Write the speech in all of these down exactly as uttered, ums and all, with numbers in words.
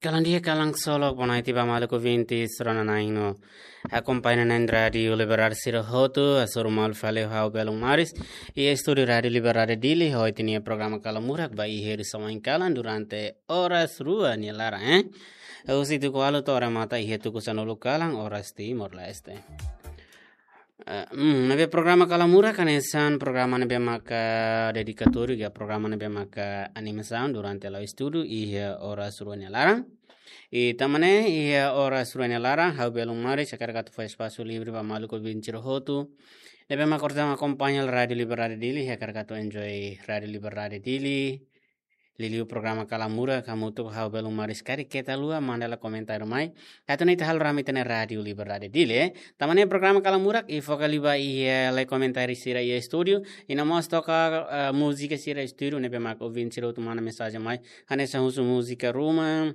Kalan di'ak, kalan ksolok, boa noite ba maluk ouvinte sira-ne'e no akompaña na'in rádiu Liberdade sira hotu, hasoru malu fali ha'u Belun Maris, iha estúdiu Rádiu Liberdade Dili, ho ita-nia programa Kala Murak ba iha ritmu oin kalan durante oras rua nia laran, eh. Husi tuku ualu to'o remata iha tuku sanulu kalan, oras Timor-Leste. Eh, hmm, ne'ebé programa Kala Murak hanesan programa ne'ebé maka dedikatóriu, ka programa ne'ebé maka animasaun durante la'o estudu iha oras rua nia laran. I tanba ne'e iha oras rua nia laran, ha'u Belun Maris hakarak atu fó espasu livre ba maluk ouvinte sira hotu ne'ebé maka orsida akompaña Rádiu Liberdade Dili, hakarak atu enjoy Rádiu Liberdade Dili. Liuliu programa Kala Murak, hamutuk ho ha'u Belun Maris, karik keta haluha manda lai komentáriu mai, atu nune'e ita halo rame ita-nia Rádiu Liberdade Dili, eh. Tanba ne'e programa Kala Murak, i foka liu ba iha, eh, lai komentáriu sira iha estúdiu, i no mós toka, eh, múzika sira estúdiu, ne'ebé maka ouvinte sira hotu manda mensajen mai, hanesan husu múzika ruma,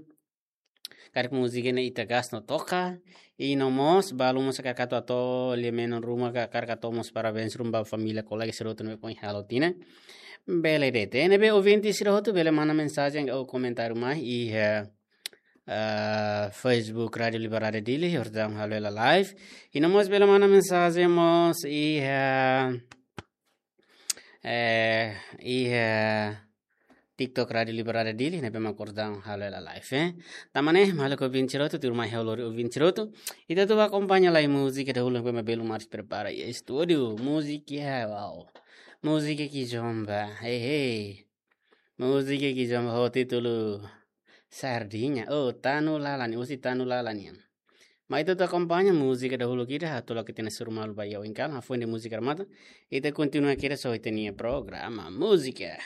karik múzika ne'e ita gosta no toka, i no mós balu mós hakarak atu hato'o lia-menon ruma ka hakarak atu hato'o mós parabéns ruma ba família, kolega sira hotu ne'ebé foin halo tinan. Bele de'it, ne'ebé ouvinte sira hotu bele manda mensajen ou komentáriu mai iha, eh, eh, Facebook Rádiu Liberdade Dili, orsida halo hela live. I no mós bele manda mensajen mós iha, eh, iha TikTok Rádiu Liberdade Dili, ne'ebé maka orsida halo hela live, eh. Tanba ne'e, maluk ouvinte sira hotu, tuirmai ha'u lori ouvinte sira hotu, ita atu bá akompaña lai múzika dahuluk ne'ebé mak Belun Maris prepara iha estúdiu, múzika, wow. Múzika ke zomba, hei, hei. Múzika ke zomba ho títulu Sardinha, oh, Tanu Lalan, husi Tanu Lalan nian. Mai ita atu akompaña múzika dahuluk ida, atu la'o ita-nia hasoru malu ba iha oin kalan, hafoin de'it múzika remata, ita kontinua kedas ho ita-nia programa múzika.